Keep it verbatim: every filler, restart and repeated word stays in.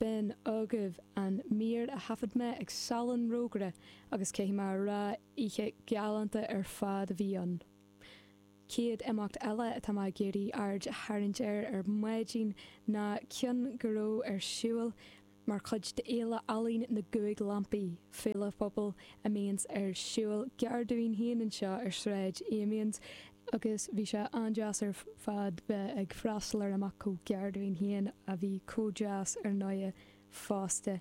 B'in agaibh an mír a thaifead mé ag Salon Rógaire agus caithfidh mé a rá, oíche galánta ar fad a bhí ann. Céad imeacht eile atá mé ag iarraidh aird a tharraingt air ar maidin ná ceann go raibh ar siúl mar chuid d'Fhéile Ealaíon na gCúig Lampaí, féile phobail a mbíonns ar siúl gar dúinn féin anseo ar Shráid Amiens, agus bhí sé an-deas ar fad bheith ag freastal ar imeacht chomh gar dúinn féin a bhí chomh deas ar ndóigh fosta.